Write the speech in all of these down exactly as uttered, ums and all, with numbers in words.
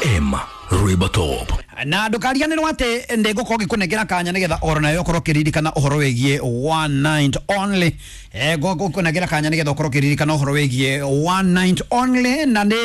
M Rwimbo Top. Na ndukariganirwo ati ndigukorwo ngikunengera kanya nigetha oro nayo ukorwo ukiririkana uhoro wigie one night only. Eh ngukunengera kanya nigetha ukorwo ukiririkana uhoro wigie one night only, na ni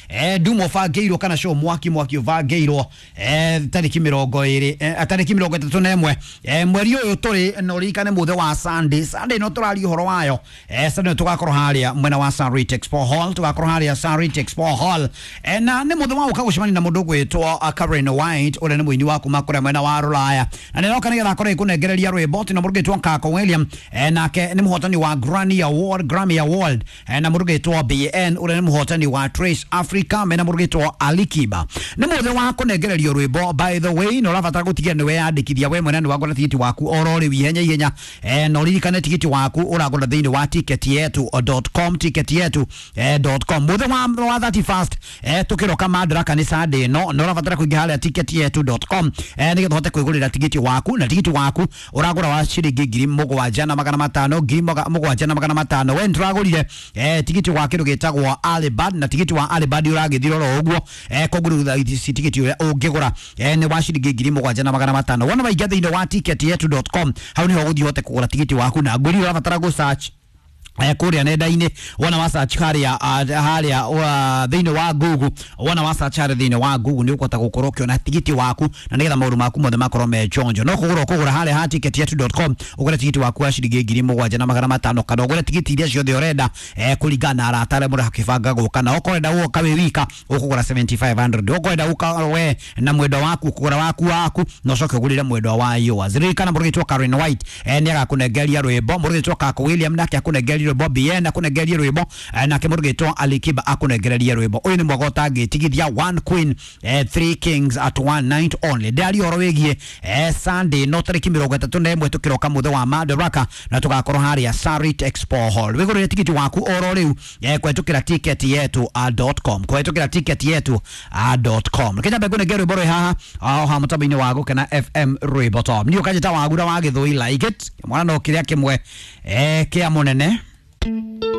eh ndumo bangĩirwo kana show mwaki mwaki ũbangĩirwo eh tariki mĩrongo ĩrĩ eh, tariki mĩrongo ĩtatũ na ĩmwe eh, mweri ũyũ tũrĩ, na ũririkane mũthĩ wa Sunday. Sunday no tũraria ũhoro wayo, eh Sunday tũgakorwo harĩa mwena wa Sarit Expo Hall, tũgakorwo harĩa Sarit Expo Hall, eh, na nĩ mũthĩ wa gũka gũcemania na mũndũ ũgwĩtwo Karen White ũrĩa nĩ mũini wa kuma kũrĩa mwena wa Rũraya, na nĩroka nĩgetha akorwo ĩkũnengereria rwĩmbo tina mũndũ ũgwĩtwo Kako William, eh, nake nĩ mũhotani wa Grammy Award, Grammy Award, eh, na mũndũ ũgwĩtwo B N ũrĩa nĩ mũhotani wa Trace Africa, mena mũndũ ũgwĩtwo Alikiba. Nĩ mũthĩ wa kũnengererio rwĩmbo, by the way, na ũrabatara gũtigĩrĩra nĩ weyandĩkithia we mwene nĩ wagũra tigiti waku oro rĩu ihenya ihenya, eh, na ũririkane tigiti waku ũragũra thĩinĩ wa ticket yetu dot com, ticket yetu dot com. Mũthĩ wa wa thirty-first eh, tũkĩroka Madaraka nĩ Sunday ĩno, na ũrabatara kũingĩra harĩa ticket yetu dot com eh, nĩgetha ũhote kwĩgũrĩra tigiti waku, na tigiti waku ũragũra wa ciringi ngiri mũgwanja na magana matano, ngiri mũgwanja na magana matano. We nĩtũragũrire eh, tigiti wa kĩndũ gĩtagwo Alibad, na tigiti wa Alibad ũragĩthira oro ũguo, eh, koguo rĩu tigiti ũrĩa ũngĩgũra eh, nĩ wa ciringi ngiri mũgwanja na magana matano. Wona waingĩra thĩinĩ wa ticket yetu dot com, hau nĩho ũgũthiĩ ũhote kũgũra tigiti waku, na ngwĩrire ũrabatara gũ search eh kuria nenda-inĩ, wona wa search haria haria thĩinĩ wa Google, wona wa search haria thĩinĩ wa Google nĩ ũkũhota gũkorwo ũkĩona tigiti waku, na nĩgetha maũndũ maku mothe makorwo me chonjo. No kũgũra ũkũgũra harĩa ha ticket yetu dot com, ũgũre tigiti waku wa ciringi ngiri mũgwanja na magana matano, kana ũgũre tigiti iria ciothe ũrenda eh kũringana na arata arĩa mũrakĩbanga gũka, na okorwo ũrenda gũka wĩ wika ũkũgũra seventy-five hundred, okorwo ũrenda gũka we na mwendwa waku ũkũgũra waku waku, na ũcoke ũgũrĩre mwendwa wa yours. Ririkana mũndũ ũgwĩtwo Karen White eh nĩ agakũnengeria rwĩmbo, mũndũ ũgwĩtwo Kako William nake akũnengeria rwĩmbo, B N akunengererie rwĩmbo, nake mũndũ ũgwĩtwo Alikiba akunengererie rwĩmbo. Ũyũ nĩ mwaka ũtangĩtigithia, one queen eh, three kings at one night only. Ndĩraria ũhoro wĩgiĩ eh, Sunday no tarĩki mĩrongo ĩtatũ na ĩmwe tũkĩroka mũthĩ wa Madaraka, na tũgakorwo harĩa Sarit Expo Hall. Wĩgũrĩre tigiti waku oro rĩu eh, kũhetũkĩra ticket yetu dot com, kũhetũkĩra ticket yetu dot com. Reke nyambe ngũnengere rwĩmbo rwĩ haha o haha mũtambo-inĩ wa Gũkena F M Rwĩmbo Top. Niĩ ũkanjĩta Wagura wa Gĩthũi, like it mwana no kĩrĩa kĩmwe eh, kĩa mũnene.